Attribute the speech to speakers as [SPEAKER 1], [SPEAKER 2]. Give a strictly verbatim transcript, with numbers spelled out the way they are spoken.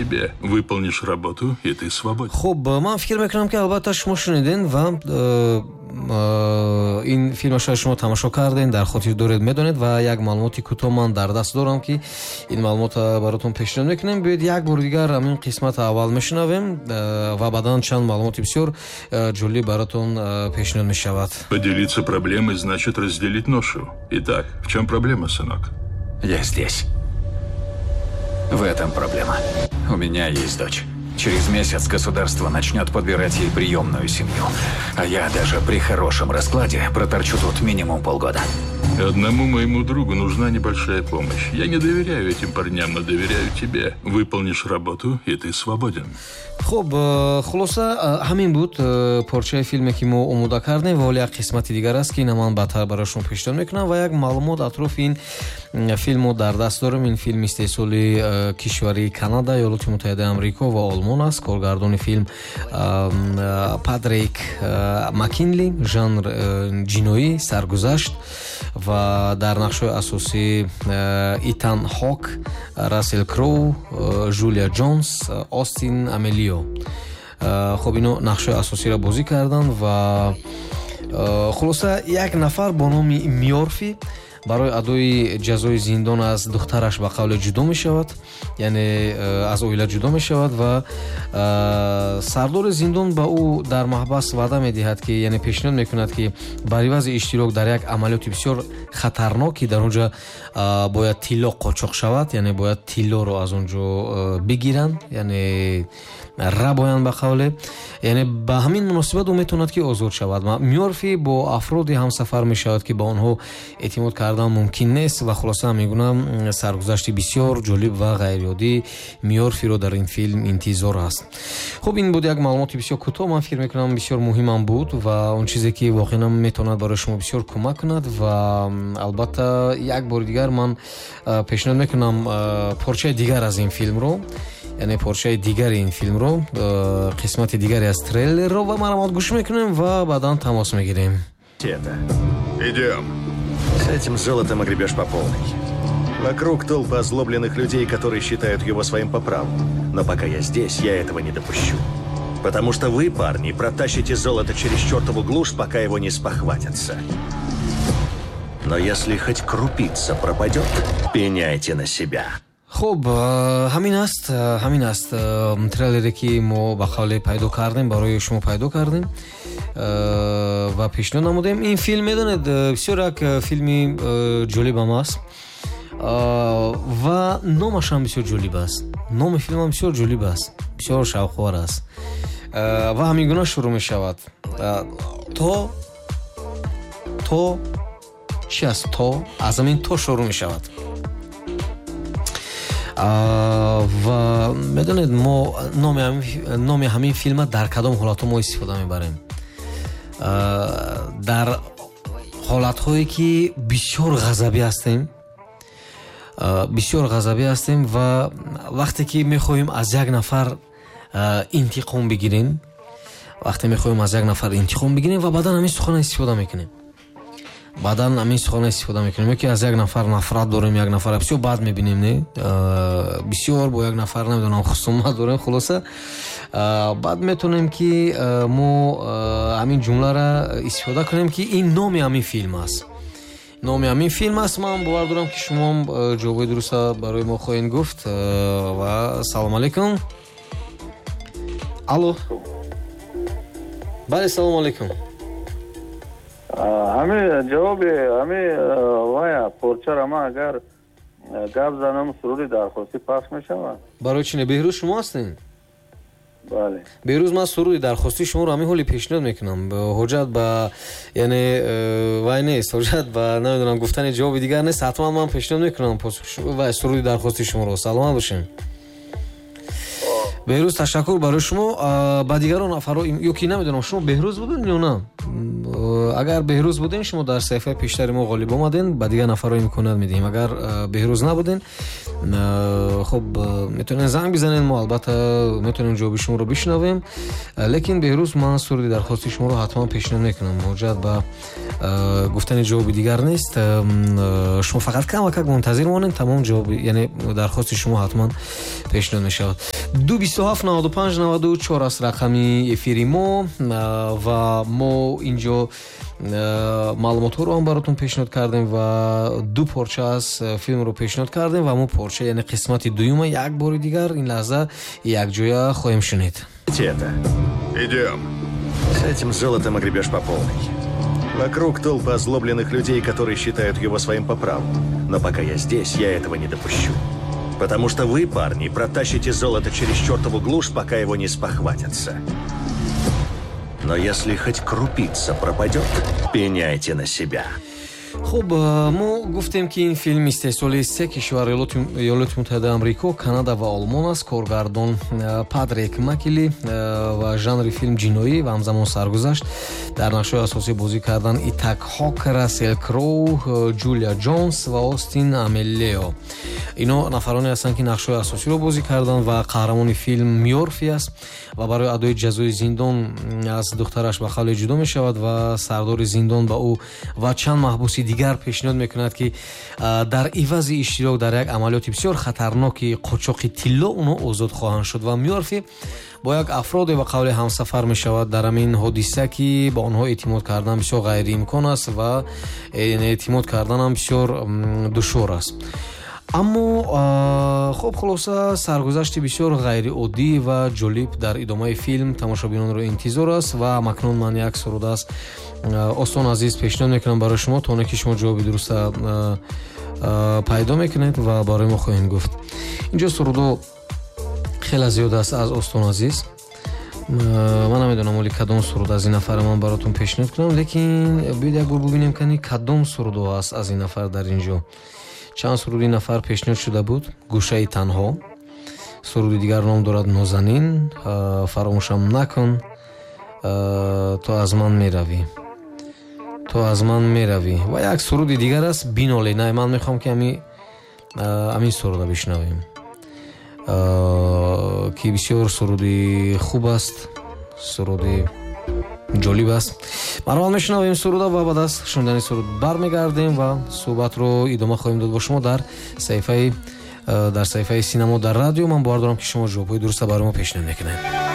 [SPEAKER 1] тебе. Выполнишь работу, и ты свободен.
[SPEAKER 2] Хуб, ман фикр мекунам, ки албатта шумо шунидем ва э, э, ин филмро шояд шумо тамошо кардем, дар хотир доред, медонед. Ва як маълумоти кӯтоҳ ман дар даст дорам, ки ин маълумотро баротон пешниҳод мекунем. Биёед, як бори дигар ҳамин қисмати аввал мешунавем э, ва баъдан чанд маълумоти бисёр ҷолиб баротон пешниҳод мешавад.
[SPEAKER 1] Поделиться проблемой значит разделить ношу. Итак, в чем проблема, сынок?
[SPEAKER 3] Я здесь. В этом проблема. У меня есть дочь. Через месяц государство начнет подбирать ей приемную семью. А я даже при хорошем раскладе проторчу тут минимум полгода.
[SPEAKER 1] Одному моему другу нужна небольшая помощь. Я не доверяю этим парням, но доверяю тебе. Выполнишь работу, и ты свободен.
[SPEAKER 2] Хуб, э, хулоса, э, ҳамин буд э, порчаи филме, ки мо омода кардем. Ва ҳоло як қисмати дигар аст, ки ина ман баъдтар барои шумо пешниҳод мекунам. Ва як маълумот атрофи ин филм мо дар даст дорем. Ин филм истеҳсоли кишвари Канада, Иёлоти Муттаҳидаи Амрико ва Олмон аст. Коргардони филм Патрик Макинли, жанр ҷиноӣ, саргузашт, ва дар нақшҳои асосӣ Итан Ҳок, Рассел Кроу, Жулия Ҷонс, Остин Амелио. Хуб, ино нақшҳои асосиро бозӣ карданд. Ва хулоса, як нафар бо номи Мёрфи барои адои ҷазои зиндон аз духтараш ба қавле ҷудо мешавад, яъне аз оила ҷудо мешавад. Ва сардори зиндон ба ӯ дар маҳбас ваъда медиҳад, ки, яъне пешниҳод мекунад, ки бар ивази иштирок дар як амалиёти бисёр хатарнок, ки дар он ҷо бояд тилло қочоқ шавад, яъне бояд тиллоро аз он ҷо бигиранд, яъне рабоянд ба қавле, яъне ба ҳамин муносибат ӯ метавонад, ки озод шавад. Мёрфи бо афроде ҳамсафар мешавад, ки ба онҳо эътимод кардан мумкин нест. Ва хулоса, мегӯям, саргузашти бисёр ҷолиб ва ғайриоддӣ Мёрфиро дар ин филм интизор аст. Хуб, ин буд як маълумоти бисёр кӯтоҳ, ман фикр мекунам, бисёр муҳимам буд ва он чизе, ки воқеан метавонад барои шумо бисёр кӯмак кунад. Ва албатта, як бори дигар ман пешниҳод мекунам порчаи дигар аз ин филмро, яъне порчаи дигари ин филмро, қисмати дигаре аз трейлерро, ва маромад гӯш мекунем ва баъдан тамос мегирем.
[SPEAKER 4] Это.
[SPEAKER 1] Идем.
[SPEAKER 4] С этим золотом огребешь по полной. Вокруг толпа озлобленных людей, которые считают его своим по праву. Но пока я здесь, я этого не допущу. Потому что вы, парни, протащите золото через чертову глушь, пока его не спохватятся. Но если хоть крупица пропадет, пеняйте на себя.
[SPEAKER 2] Хуб, ҳамин аст, ҳамин аст трейлере, ки мо ба қавле пайдо кардем, барои шумо пайдо кардем ва пешниҳод намудем. Ин филм, медонед, бисёр як филми ҷолибам аст ва номашам бисёр ҷолиб аст. Номи филмам бисёр ҷолиб аст, бисёр шавқовар аст ва ҳамин гуна шурӯъ мешавад: то то чи аст? То аз ҳамин то шурӯъ мешавад. Ва медонед, мо номи ҳамин филма дар кадом ҳолатҳо мо истифода мебарем? Дар ҳолатҳое, ки бисёр ғазабӣ ҳастем, бисёр ғазабӣ ҳастем ва вақте ки мехоҳем аз як нафар интиқом бигирем, вақте мехоҳем аз як нафар интиқом бигирем ва баъдан ҳамин сухана истифода мекунем, баъдан ҳамин сухана истифода мекунем. Ё ки аз як нафар нафрат дорем, як нафар бисёр бад мебинем, не, бисёр бо як нафар, намедонам, хусумат дорем. Хулоса, баъд метавонем, ки мо ҳамин ҷумлара истифода кунем, ки ин номи ҳамин филм аст, номи ҳамин филм аст. Ман бовар дорам, ки шумоам ҷавоби дуруста барои мо хоҳед гуфт. Ва салому алайкум, алло, бале, салому алайкум.
[SPEAKER 5] Ҳами ҷавоби ҳами вая порчара ман агар гап занам, суруди дархостӣ пахш мешавад?
[SPEAKER 2] Барои чи не? Беҳрӯз шумо ҳастед?
[SPEAKER 5] Бале.
[SPEAKER 2] Беҳрӯз, ман суруди дархостии шуморо ҳамин ҳоли пешниҳод мекунам. Ҳоҷат ба, яъне, вай нест, ҳоҷат ба, намедонам, гуфтани ҷавоби дигар нест. Ҳатман ман пешниҳод мекунам вай суруди дархостии шуморо. Саломат бошем, Беҳрӯз, ташаккур барои шумо. Ба дигарон нафарҳо ё ки намедонам, шумо Беҳрӯз будед ё на? Агар Беҳрӯз буден, шумо дар саҳифаи пештари мо ғолиб омаден, ба дигар нафарҳо имконият медиҳем. Агар Беҳрӯз набуден, хуб, метавонед занг бизанед, мо албатта метавонем ҷавоби шуморо бишнавем. Лекин Беҳрӯз, ман суруди дархости шуморо ҳатман пешниҳод мекунам. Ҳоҷат ба гуфтани ҷавоби дигар нест. Шумо фақат камакак мунтазир монед, тамом ҷавоб, яъне дархости шумо ҳатман пешниҳод мешавад. Ду бисту ҳафт наваду панҷ наваду чор аст рақами эфири мо ва мо инҷо маълумотҳоро ҳам баротон пешниҳод кардем ва ду порча аз филмро пешниҳод кардем ва мо порча, яъне қисмати дуюма як бори дигар ин лаҳза якҷоя хоҳем шунид.
[SPEAKER 4] Это.
[SPEAKER 1] Идем.
[SPEAKER 4] С этим золотом огребешь по полной. Вокруг толпа озлобленных людей, которые считают его своим по праву. Но пока я здесь, я этого не допущу. Потому что вы, парни, протащите золото через чертову глушь, пока его не спохватятся. Но если хоть крупица пропадет, пеняйте на себя.
[SPEAKER 2] Хуб, мо гуфтем, ки ин филм истеҳсоли се кишвар, Иёлоти Муттаҳидаи Амрико, Канада ва Олмон аст. Коргардон Патрик Макили ва жанри филм ҷиноӣ ва ҳамзамон саргузашт. Дар нақшҳои асосӣ бозӣ кардан Итан Хок, Рассел Кроу, Ҷулия Ҷонс ва Остин Амелео. Ино нафароне ҳастанд, ки нақшҳои асосиро бозӣ карданд ва қаҳрамони филм Мёрфи аст ва барои адои ҷазои зиндон аз духтараш ба қавле ҷудо мешавад ва сардори зиндон ба ӯ ва чанд маҳбуси дигар пешниҳод мекунад, ки дар ивази иштирок дар як амалиёти бисёр хатарноки қочоқи тилло онҳо озод хоҳанд шуд. Ва Мёрфи бо як афроде ба қавле ҳамсафар мешавад дар ҳамин ҳодиса, ки ба онҳо эътимод кардан бисёр ғайриимкон аст ва эътимод карданам бисёр душвор аст. Аммо хуб, хулоса, саргузашти бисёр ғайриоддӣ ва ҷолиб дар идомаи филм тамошобинонро интизор аст. Ва акнун ман як суруд аз Остон Азиз пешниҳод мекунам барои шумо, то оне ки шумо ҷавоби дуруста пайдо мекунед ва барои мо хоҳед гуфт. Инҷо сурудо хеле зиёд аст аз Остон Азиз. Ман намедонам, оли кадом суруд аз ин нафар ман баротон пешниҳод кунам, лекин биёед як бор бубинем, кани кадом сурудо аст аз ин нафар. Дар инҷо чанд суруди нафар пешниҳод шуда буд. Гӯшаи танҳо, суруди дигар ном дорад Нозанин, фаромӯшам накун, ту аз ман меравӣ, ту аз ман меравӣ ва як суруди дигар аст Биноле. Не, ман мехоҳам, ки ами амин суруда бишнавем, ки бисёр суруди хуб аст, суруди ҷолиб аст. Марҳамат, мешунавем суруда ва баъд аз шунидани суруд бармегардем ва суҳбатро идома хоҳем дод бо шумо дар саҳифаи дар саҳифаи Синамо дар радио. Ман бовар дорам, ки шумо ҷавобҳои дуруста барои мо пешниҳод мекунед.